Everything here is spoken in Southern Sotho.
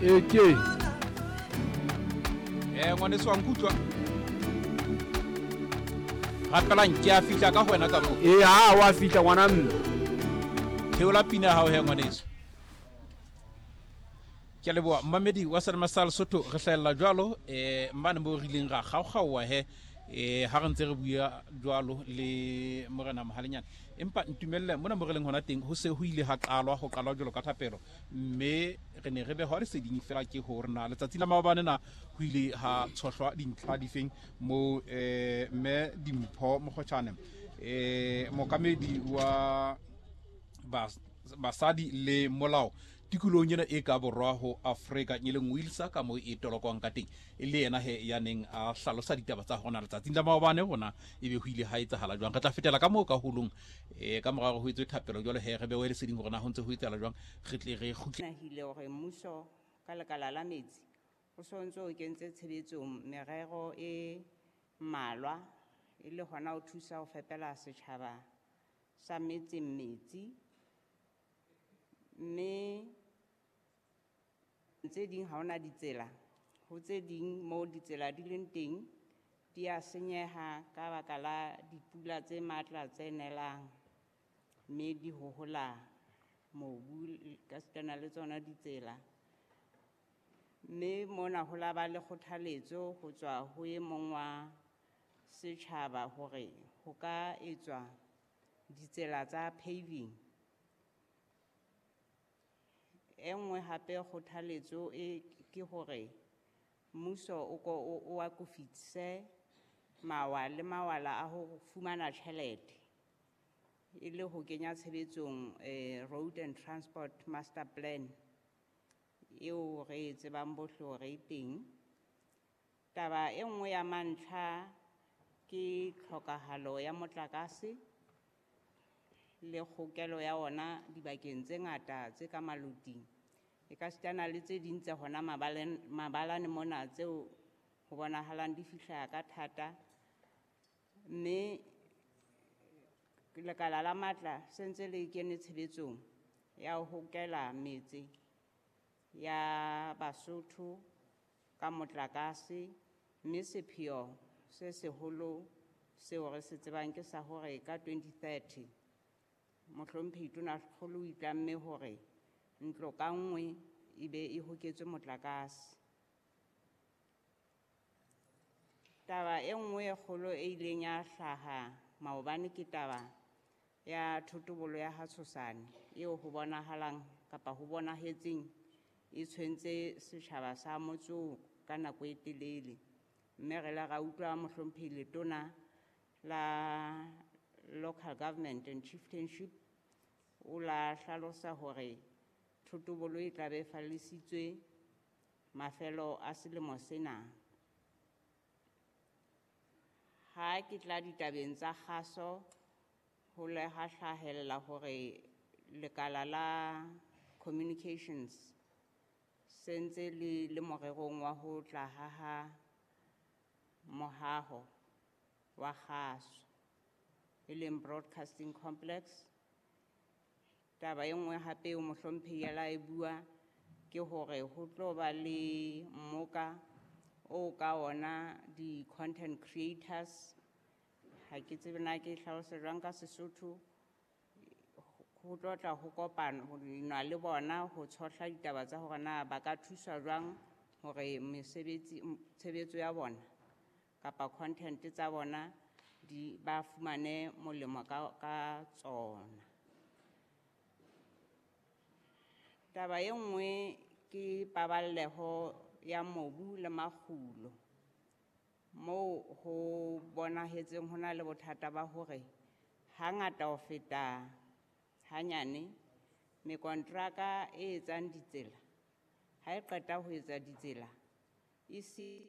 Eke. Ngwaneso wa nkutlwa. Rapelang ke a fihla ka ho wena ka moo. Ee, ha wa fihla ngwana mme. Theola pina ya hao he ngwaneso. Ke a leboha mmamedi wa Selema sa Lesotho, re hlahella jwalo mane mo re ileng ra kgaokgaoa he ha re ntse re bua jwalo le Morena Mohalenyane. Empa ntumelle mona mo re leng hona teng ho se ho ile ha qalwa ho qalwa jwalo ka thapelo, mme re ne re behwa leseding fela ke hore na letsatsi la maobane na ho ile ha tshohlwa dintlha difeng mo mme Dimpho Mokgotjhane mookamedi wa basadi le molao tikolong ena e ka borwa ho Afrika e leng Wilsa ka mo e tolokwang ka teng, e le yena he ya neng a hlalosa ditaba tsa hona letsatsing la maobane hona ebe ho ile ha etsahala jwang. Re tla fetela ka moo ka holong ka mora hore ho etswe thapelo jwalo he re bewe leseding hore na ho ntse ho etsahala jwang, re tle re kgutle. Nahile hore mmuso ka lekala la metsi o so ntse o kentse tshebetsong merero e mmalwa e le hona ho thusa ho fepela setjhaba sa metseng metsi, mme tse ding ha hona ditsela, ho tse ding moo ditsela di leng teng di a senyeha ka baka la dipula tse matla tse nelang, mme di hohola mobu ka sitana le tsona ditsela. Mme mona ho la ba le kgothaletso ho tswa ho e mong wa setjhaba hore ho ka etswa ditsela tsa paving. E nngwe hape kgothaletso e ke hore mmuso o ko o akofise mawa le mawala a ho fumana tjhelete e le ho kenya tshebetsong Road and Transport Master Plan eo re e tsebang bohle hore e teng. Taba e nngwe ya mantlha ke tlhokahalo ya motlakase le kgokelo ya ona dibakeng tse ngata tse ka maloting, e ka sitana le tse ding tse hona mabalane mona tseo ho bonahalang di fihla ka thata. Mme lekala la matla se ntse le kene tshebetsong ya ho hokela metse ya Basotho ka motlakase, mme sepheo se seholo seo re se tsebang ke sa hore ka 2030 mohlomphehi Tonakgolo o itlamme hore ntlo ka nngwe e be e hoketswe motlakase. Taba e nngwe e kgolo e ileng ya hlaha maobane ke taba ya thotobolo ya ha Tshosane eo ho bonahalang kapa ho bonahetseng e tshwentse setjhaba sa motse oo ka nako e telele. Mme re la ra utlwa mohlomphehi Letona la Local Government and Chieftainship o la hlalosa hore thotobolo e tla be e fallisitswe mafelo a selemo sena. Ha ke tla ditabeng tsa kgaso, ho le ha hlahella hore lekala la communications se ntse le le morerong wa ho tla haha mohaho wa kgaso e leng broadcasting complex. Taba e nngwe hape eo mohlomphehi a la e bua ke hore ho tlo ba le mmoka o ka ona di-content creators, ha ke tsebe na ke hlalose jwang ka Sesotho, ho tlo tla ho kopana ho nwa le bona ho tshohla ditaba tsa hore na ba ka thuswa jwang hore mesebetsi tshebetso ya bona kapa content tsa bona di ba fumane molemo ka tsona. Taba e nngwe ke paballeho ya mobu le makgulo, moo ho bonahetseng ho na le bothata ba hore hangata ho feta hanyane mekontraka e etsang ditsela ha e qeta ho etsa ditsela e se